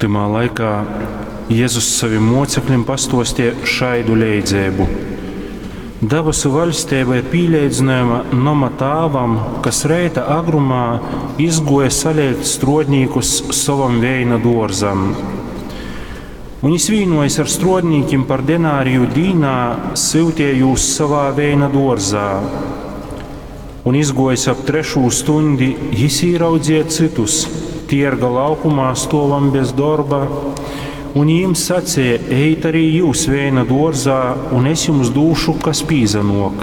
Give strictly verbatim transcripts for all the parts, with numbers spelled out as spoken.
Tymā laikā Jezus sovim mōceklim pastōsteja šaidu leidzeibu: Dabasu vaļsteiba ir pīleidzynojama noma tāvam, kas reita agrumā izgōja saleigt strōdnīkus sovam veina dōrzam. Un jys vīnōjis ar strōdnīkim par denariju dīnā, syuteja jūs sovā veina dōrzā. Un izgōjis ap trešū stuņdi, jys īraudzeja cytus tierga laukumā stōvam bez dorba, un jim saceja: Ejit arī jyus veina dōrzā, un es jums dūšu, kas pīsanōk.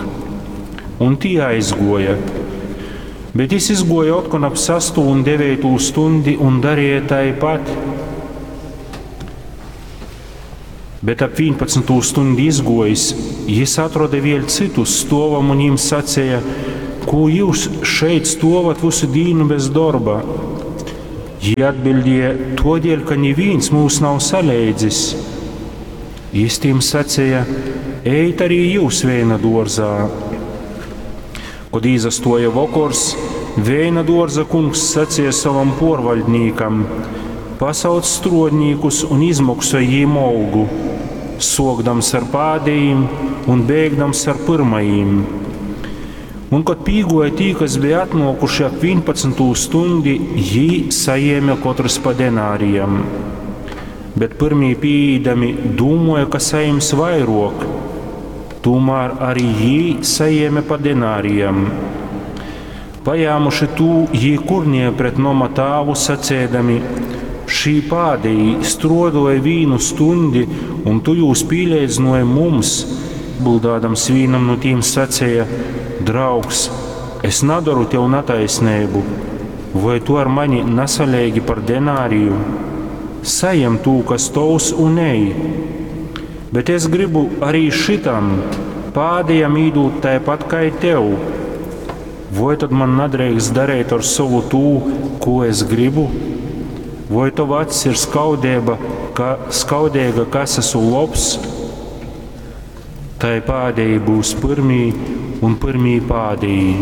Un tī aizgōja. Bet jys izgōja otkon ap sastū un deveitū stuņdi un dareja taipat. Bet ap vīnpadsmitū stuņdi izgōjis, jys atroda vēļ cytus stōvam un jim saceja: Kū jyus šeit stōvat vysu dīnu bez dorba? Jī atbiļdēja: Tōdēļ, ka nivīns myus nav saleidzis. Jys tim saceja: Ejit arī jyus veina dōrzā. Kod īsastōja vokors, veina dōrza kungs saceja sovam pōrvaļdnīkam: Pasauc strōdnīkus un izmoksoj jīm olgu, sōkdams ar pādejim un beigdams ar pyrmajim. Un kod pīgōja tī, kas beja atnōkuši ap vīnpadsmitū stuņdi, jī sajēme kotrs pa denārijam. Bet pyrmī pīīdami dūmōja, ka sajims vairōk, tūmār arī jī sajēme pa denārijam. Pajāmuši tū, jī kurnēja pret noma tāvu, saceidami: Šī pādejī strōdōja vīnu stuņdi, un tu jūs pīleidzynōji mums. Atbildādams vīnam nu tīm saceja: Draugs, es nadoru tev nataisneibu, voi tu ar mani nasaleigi par denāriju? Sajem tū, kas tovs, un ej. Bet es gribu arī šitam pādejam īdūt taipat kai tev. Voi tad man nadreikst dareit ar sovu tū, ko es gribu? Voi tova acs ir skaudeiba, ka, skaudeiga, ka es esmu lobs? Tai pādejī būs pyrmī un pyrmī pādejī.